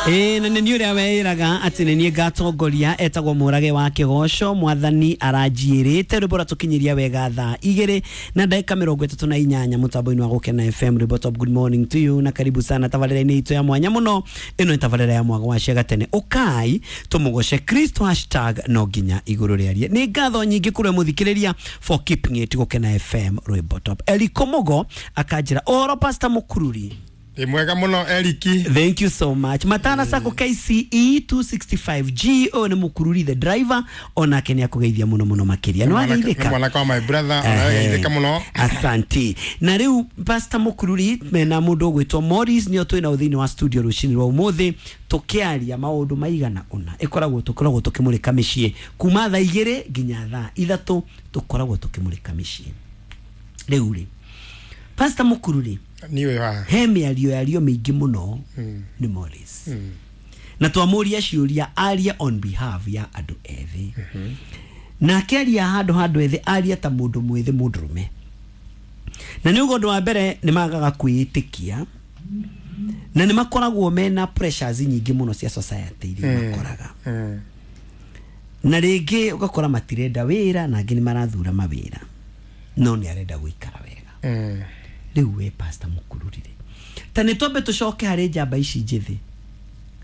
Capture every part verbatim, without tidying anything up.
Ĩĩ na nĩ niĩ ũrĩa weĩraga atĩ nĩ niĩ ngatongoria etagwo Mũrage wa Kĩgoco. Mwathani aranjiĩrĩte rwĩmbo rwatũkinyĩria wega thaa igĩrĩ na ndagĩka mĩrongo ĩtatũ na inyanya mũtambo-inĩ wa Gũkena F M. Rwĩmbo top. Good morning to you na karibu sana tabarĩra-inĩ itũ ya mwanya mũno. Ĩno nĩ tabarĩra ya mwago wa Ciaga Tene. Ũkai tũmũgoce Kristo hashtag no nginya igũrũ rĩarie. Nĩ ngatho nyingĩ kũrĩ mũthikĩrĩria for keeping it Gũkena F M rwĩmbo top. Eriko Mugo akanjĩra ũhoro Pastor Mũkururi. Ĩ mwega mũno Eriki. Thank you so much. Matana Sako K C E two sixty-five G o nĩ Mũkururi the driver onake nĩ akũgeithia mũno mũno makĩria. Nĩ wageithĩka? Nĩ mwanake wa my brother, arageithĩka mũno. Asante. Na rĩu Pastor Mũkururi mena mũndũ ũgwĩtwo Morris nĩo twĩna thĩinĩ wa studio rũcinĩ rwa ũmũthĩ tũkĩaria maũndũ maigana ũna. Ĩkoragwo tũkoragwo tũkĩmũrĩka mĩciĩ kuma thaa igĩrĩ nginya thaa ithatũ tũkoragwo tũkĩmũrĩka mĩciĩ. Rĩu rĩ Pastor Mũkururi niwe wa he mĩario yario mĩingĩ mũno nĩ Morris. Mm. Na twamũria ciũria aria on behalf ya andũ ethĩ. Mm -hmm. Na akĩaria handũ ha andũ ethĩ aria ta mũndũ mwĩthĩ mũndũrũme. Na nĩ ũguo ũndũ wa mbere nĩ magaga kwĩĩtĩkia na nĩ makoragwo mena pressures nyingĩ mũno cia society iria makoraga. Mm. Na rĩngĩ ũgakora matirenda wĩra na angĩ nĩ marathura mawĩra no nĩ arenda gũikara wega. Mm. Rĩu we Pastor Mũkururi ta nĩ twambe tũcoke harĩ njamba ici njĩthĩ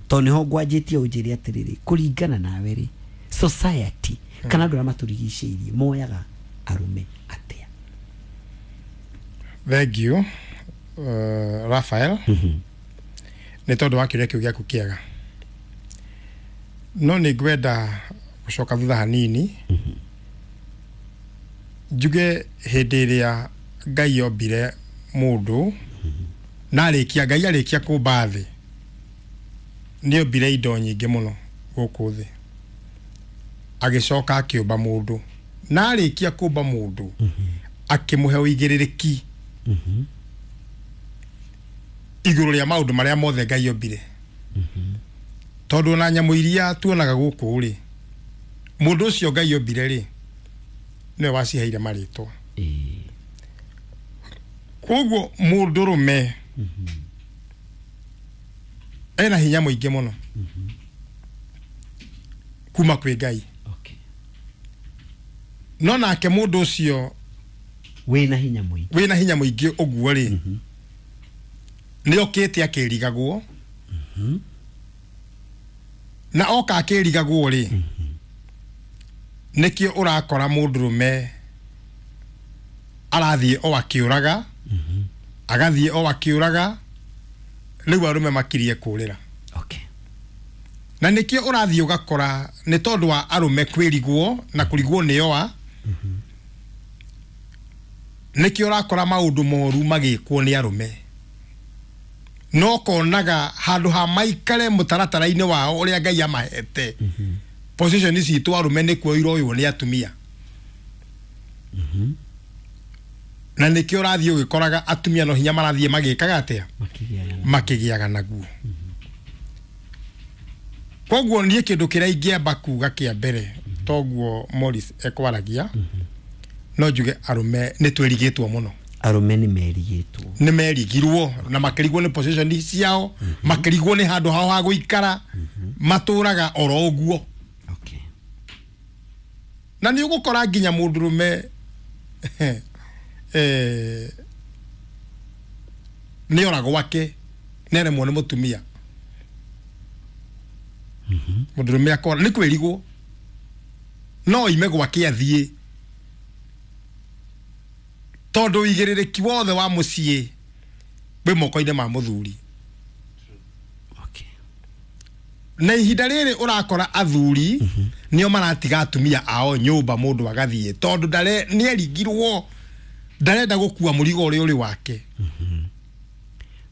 tondũ nĩho ngwanjĩtie ũnjĩre atĩrĩrĩ kũringana nawe rĩ society kana andũ arĩa matũrigicĩirie moyaga arũme atĩa? Thank you uh, Raphael. Mm -hmm. Nĩ tondũ wa kĩũria kĩu gĩaku kĩega no nĩ ngwenda gũcoka thutha hanini. Mm -hmm. Njuge hĩndĩ ĩrĩa Ngai ombire mũndũ na arĩkia Ngai arĩkia kũmba thĩ nĩ ombire indo nyingĩ mũno gũkũ thĩ agĩcoka akĩũmba mũndũ na arĩkia kũmba mũndũ akĩmũhe ũigĩrĩrĩki igũrũ rĩa maũndũ marĩa mothe Ngai ombire. Tondũ ona nyamũ iria tuonaga gũkũ rĩ mũndũ ũcio Ngai ombire rĩ nĩwe waciheire marĩtwa. Koguo mũndũrũme ena hinya mũingĩ mũno kuma kwĩ Ngai. Okay. No nake mũndũ ũcio wĩna hinya mũingĩ wĩna hinya mũingĩ ũguo rĩ nĩ okĩte akĩrigagwo na oka akĩrigagwo rĩ nĩkĩo ũrakora mũndũrũme arathiĩ o akĩũraga agathiĩ o akĩũraga rĩu arũme makirie kũrĩra. Okay. Na nĩkĩo ũrathiĩ ũgakora nĩ tondũ wa arũme kwĩrigwo na kũrigwo nĩo a nĩkĩo ũrakora maũndũ moru magĩkwo nĩ arũme no konaga handũ ha maikare mũtaratara-inĩ wao ũrĩa Ngai amahete position citũ arũme nĩkuo iroywo nĩ atumia. Na nĩkĩo ũrathiĩ ũgĩkoraga atumia no hinya marathiĩ magĩkaga atĩa makĩgĩaga naguo. Koguo niĩ kĩndũ kĩrĩa ingĩamba kuga kĩa mbere toguo Morris ekwaragia no njuge arũme nĩ twĩrigĩtwo mũno. Arũme nĩ merigĩtwo nĩ merigirwo na makĩrigwo nĩ position ciao makĩrigwo nĩ handũ hao ha gũikara matũraga oro ũguo. Okay. Na nĩ ũgũkora nginya mũndũrũme eh nĩ ora gwake nĩ aremwo nĩ mũtumia. Mũndũrũme akora nĩ kwĩrigwo no ime gwake athiĩ tondũ ũigĩrĩrĩki wothe wa mũciĩ wĩ moko-inĩ ma mũthuri. Okay. Na ihinda rĩrĩ ũrakora athuri nĩo maratiga atumia ao nyũmba mũndũ agathiĩ tondũ ndare nĩ erigirwo ndarenda gũkua mũrigo ũrĩa ũrĩ wake.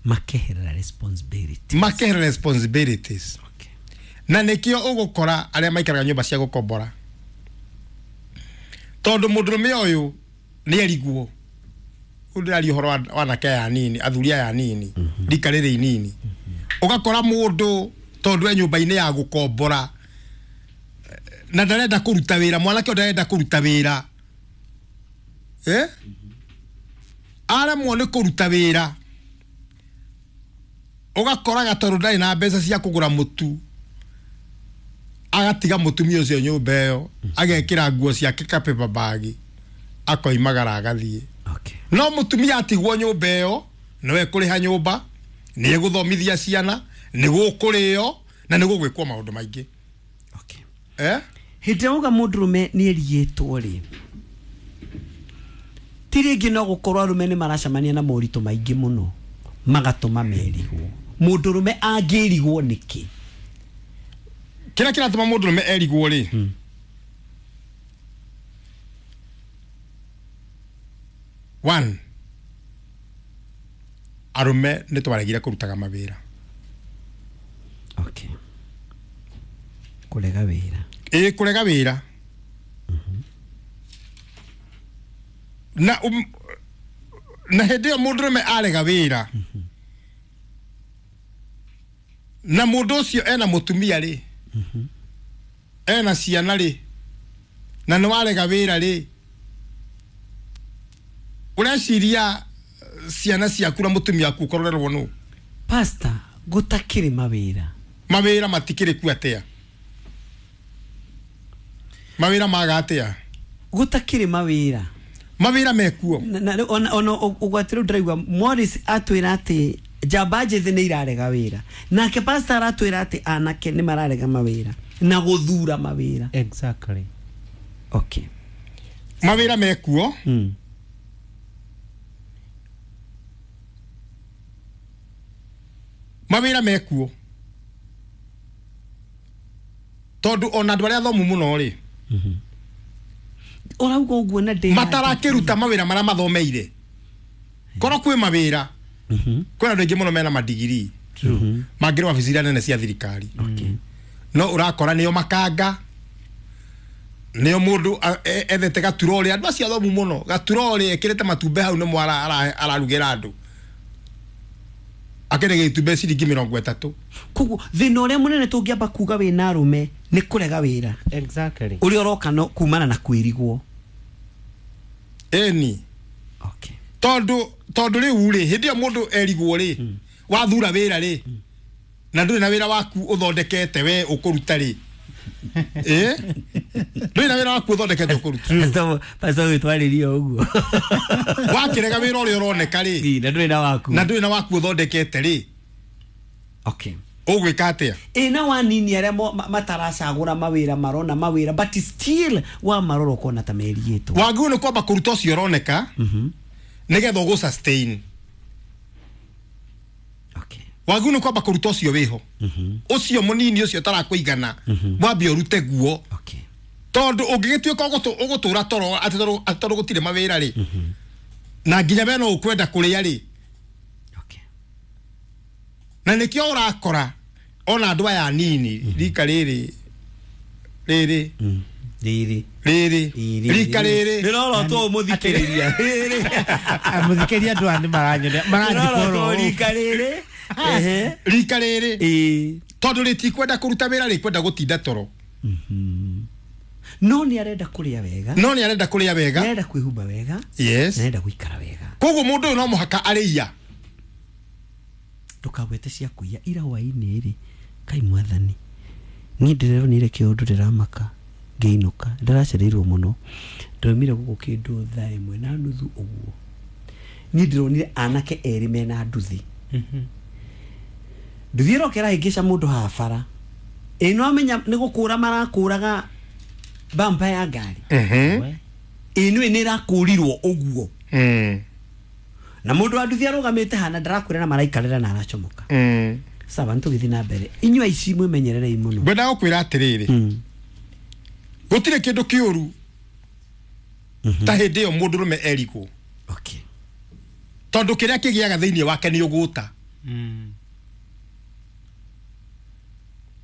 Makeherera responsibilities. Makeherera responsibilities. Okay. Na nĩkĩo ũgũkora arĩa maikaraga nyũmba cia gũkombora tondũ mũndũrũme ũyũ nĩ erigwo ũndĩraria ũhoro wa anake aya anini athuri aya anini rika rĩrĩ inini ũgakora mũndũ tondũ e nyũmba-inĩ ya gũkombora na ndarenda kũruta wĩra mwanake ũyũ ndarenda kũruta wĩra eh aremwo nĩ kũruta wĩra Ũgakoraga tondũ ndarĩ na mbeca cia kũgũra mũtu, agatiga mũtumia ũcio nyũmba ĩyo, agekĩra nguo ciake ka paper bag, akoimagara agathiĩ. Okay. No mũtumia atigwo nyũmba ĩyo, nĩwe kũrĩha nyũmba, nĩ egũthomithia ciana, nĩ gũkũrĩo na nĩ gũgwĩkwo maũndũ maingĩ. Okay. Eh? Hĩndĩ ĩrĩa uga mũndũrũme nĩ erigĩtwo rĩ, ti rĩngĩ no gũkorwo arũme nĩ maracemania na moritũ maingĩ mũno magatũma merigwo. Mũndũrũme angĩrigwo nĩkĩ? Kĩrĩa kĩratũma mũndũrũme erigwo rĩ, Mm. One, arũme nĩ twaregire kũrutaga mawĩra. Okay. Kũrega wĩra. Ĩĩ, kũrega wĩra. Na um, na hĩndĩ ĩyo mũndũrũme arega wĩra, na mũndũ ũcio ena mũtumia rĩ, ena ciana rĩ, na nĩ warega wĩra rĩ, ũreciria ciana ciaku na mũtumia waku ũkororerwo nũ? Pastor, gũtakĩrĩ mawĩra. Mawĩra matikĩrĩ kuo atĩa? Mawĩra maga atĩa? Gũtakĩrĩ mawĩra. Mawĩra mekuo. Na, na, ona, ona ũgwati rĩu ndĩraigua Morris atwĩra atĩ njamba njĩthĩ nĩ irarega wĩra, nake pastor aratwĩra atĩ anake nĩ mararega mawĩra na gũthura mawĩra. Exactly. Okay. Mawĩra mekuo. Mm. Mawĩra mekuo tondũ ona andũ arĩa athomu mũno rĩ, ũrauga ũguo na ndĩ matarakĩruta mawĩra marĩa mathomeire. Korwo kwĩ mawĩra, kwĩna andũ aingĩ mũno mena madigiri mangĩrĩ wabici iria nene cia thirikari. Okay. No ũrakora nĩo makanga, nĩo mũndũ ethete gaturori, andũ acio athomu mũno, gaturori ekĩrĩte matumbĩ hau nĩmo ararugĩra andũ, akĩrĩ gĩtumbĩ ciringi mĩrongo ĩtatũ. Koguo thĩna ũrĩa mũnene tũngĩamba kuga wĩna arũme nĩ kũrega wĩra. Exactly. Ũrĩa ũroka no kumana na kwĩrigwo. Ĩni. Okay. Tondũ tondũ rĩu rĩ, hĩndĩ ĩyo mũndũ erigwo rĩ, wathura wĩra rĩ, na ndũrĩ na wĩra waku ũthondekete we ũkũruta rĩ, ĩ ndũrĩ na wĩra waku ũthondekete ũkũruta. Pastor wĩtwarĩrie ũguo. Wakĩrega wĩra ũrĩa ũroneka rĩ, na ndũrĩ na waku, na ndũrĩ na waku ũthondekete rĩ, Okay. ũgwĩka atĩa? Ĩ na wanini arĩa mataracagũra mawĩra marona mawĩra but still wa marora ũkona ta merigĩtwo. Wagĩrĩirwo nĩ kwamba kũruta ũcio ũroneka nĩgetha ũgũ sustain. Okay. Wagĩrĩirwo nĩ kwamba kũruta ũcio wĩho, ũcio mũnini ũcio ũtarakũigana, wambe ũrute guo. Okay. Tondũ ũngĩgĩtuĩka ũgũtũra toro atĩ tondũ gũtirĩ mawĩra rĩ, na nginya we no ũkwenda kũrĩa rĩ. Okay. Na nĩkĩo ũrakora ona andũ aya anini rika rĩrĩ rĩrĩ rĩrĩ rĩrĩ rika rĩrĩ rĩrorotwo mũthikĩrĩria rĩrĩ mũthikĩrĩria andũ aya nĩ maranyonia maranjikoro rika rĩrĩ ehe rika rĩrĩ ĩ tondũ rĩtikwenda kũruta wĩra, rĩkwenda gũtinda toro. No nĩ arenda kũrĩa wega, no nĩ arenda kũrĩa wega, nĩ arenda kwĩhumba wega, yes, nĩ arenda gũikara wega. Koguo mũndũ ũyũ no mũhaka arĩia. Ndũkagwete cia kũiya ira hwaĩ-inĩ rĩ, kai mwathani niĩ ndĩreronire kĩũndũ ndĩramaka ngĩinũka, ndĩracereirwo mũno, ndaumire gũkũ kĩndũ thaa ĩmwe na nuthu ũguo. Niĩ ndĩronire anake erĩ mena nduthi. Nduthi ĩroka ĩrahĩngĩca mũndũ haha bara, ĩ no amenya nĩ gũkũra marakũraga bampa ya ngari. Ĩ nĩ nĩ ĩrakũrirwo ũguo. Na mũndũ wa nduthi arũgamĩte hana ndarakwĩra na maraikarĩra na aracomoka. Sawa, nĩtũgĩthiĩ na mbere. Inyuĩ aici mwĩmenyererei mũno. Ngwendaga gũkwĩra atĩrĩrĩ, gũtirĩ kĩndũ kĩũru ta hĩndĩ ĩyo mũndũrũme erigwo. Okay. Tondũ kĩrĩa kĩgĩaga thĩinĩ wake nĩ ũgũta.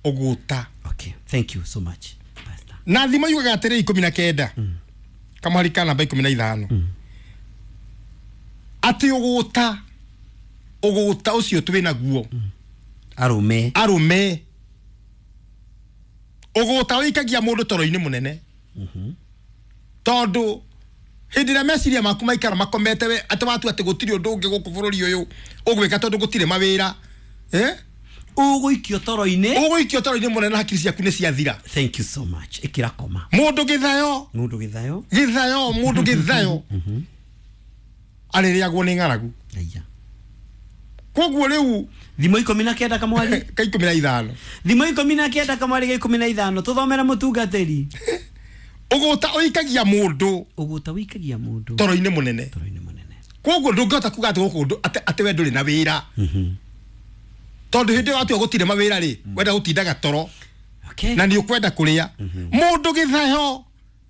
Ũgũta. Okay, thank you so much, Pastor. Na thimo yugaga atĩrĩ ikũmi na kenda kamũhari ka namba ikũmi na ithano atĩ ũgũta ũgũta ũcio twĩ naguo arũme arũme ũgũta ũikagia mũndũ toro-inĩ mũnene. Tondũ hĩndĩ ĩrĩa meciria maku maikara makomete we atĩ watua atĩ gũtirĩ ũndũ ũngĩ gũkũ bũrũri ũyũ ũgwĩka tondũ gũtirĩ mawĩra, Eh? Ũgũikio toro-inĩ. Ũgũikio toro-inĩ mũnene na hakiri ciaku nĩ ciathira. Thank you so much. Ĩkĩra koma. Mũndũ gĩthayo. Mũndũ gĩthayo. Gĩthayo, mũndũ gĩthayo arĩrĩagwo nĩ ng'aragu. Aya. Koguo rĩu Thimo ikũmi na kenda kamwari. Ka ikũmi na ithano. Thimo ikũmi na kenda kamwari ga ikũmi na ithano. Tũthomere mũtungatĩri. Ũgũta ũikagia mũndũ. Ũgũta ũikagia mũndũ. Toro-inĩ mũnene. Toro-inĩ mũnene. Koguo ndũngĩhota kuga atĩ gũkũ atĩ atĩ we ndũrĩ na wĩra. Tondũ hĩndĩ ĩyo watua gũtirĩ mawĩra rĩ, wenda gũtindaga toro. Okay. Na nĩ ũkwenda kũrĩa. Mũndũ gĩthayo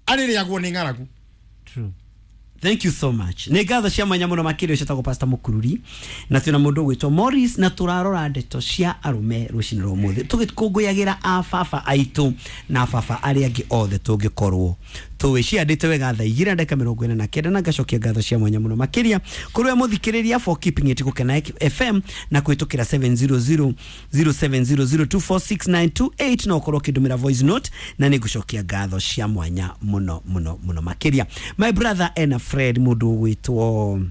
arĩrĩagwo nĩ ng'aragu. True. Thank you so much. Nĩ ngatho cia mwanya mũno makĩria ũcio Pastor Mũkururi na twĩna mũndũ ũgwĩtwo Morris na tũrarora ndeto cia arũme rũcinĩ rwa ũmũthĩ tũgĩkũngũyagĩra a baba aitũ na baba arĩa angĩ othe tũngĩkorwo tũwĩciandĩte wega thaa igĩrĩ na ndagĩka mĩrongo ĩna na kenda na ngacokia ngatho cia mwanya mũno makĩria kũrĩ we mũthikĩrĩria for keeping it Gũkena F M na kũhĩtũkĩra seven zero zero zero seven zero zero two four six nine two eight na ũkorwo ũkĩndũmĩra voice note na nĩ ngũcokia ngatho cia mwanya mũno mũno mũno makĩria. My brother ena Fred mũndũ ũgwĩtwo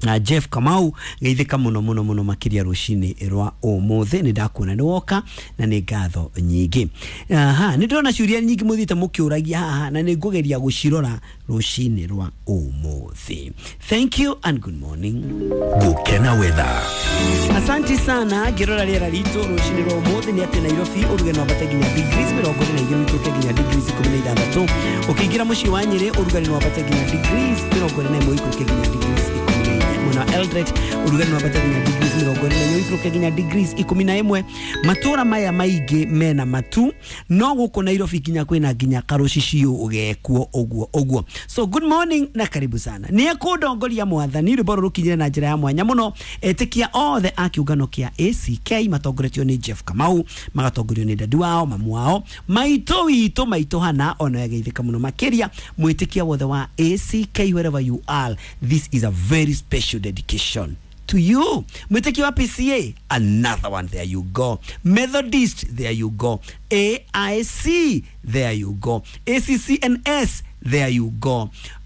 na Jeff Kamau geithĩka mũno mũno mũno makĩria rũcinĩ rwa ũmũthĩ. Nĩ ndakuona nĩ woka na nĩ ngatho nyingĩ. Aha, nĩ ndĩrona ciũria nyingĩ mũthiĩte mũkĩũragia haha na nĩ ngũgeria gũcirora rũcinĩ rwa ũmũthĩ. Thank you and good morning. Gũkena weather. Asanti sana. Ngĩrora rĩera ritũ rũcinĩ rwa ũmũthĩ nĩ atĩ Nairobi ũrugarĩ no wambate nginya degrees mĩrongo ĩrĩ na igĩrĩ ũikũrũke nginya degrees ikũmi na ithathatũ. Ũkĩingĩra mũciĩ wa Nyĩrĩ ũrugarĩ no wambate nginya degrees mĩrongo ĩrĩ na ĩmwe ũikũrũke nginya degrees ikũmi na inya. Mwena wa Eldoret ũrugarĩ no wambate nginya degrees mĩrongo ĩrĩ na inya ũikũrũke nginya degrees ikũmi na ĩmwe. Matũra maya maingĩ mena matu no gũkũ Nairobi nginya kwĩna nginya karũciciũ ũgekuo ũguo ũguo. So good morning na karibu sana. Nĩ ekũndongoria mwathani rwĩmbo rũrũ rũkinyire na njĩra ya mwanya mũno. Etĩkia othe a kĩũngano kĩa A C K matongoretio nĩ Jeff Kamau, magatongorio nĩ dadi wao, mamu wao, maitũ witũ, maitũ Hana ona yageithĩka mũno makĩria. Mwĩtĩkia wothe wa A C K wherever you are, this is a very special dedication to you. Mwĩtĩkia wa P C A, another one, there you go. Methodist, there you go. A I C, there you go. A C C N S, there you go.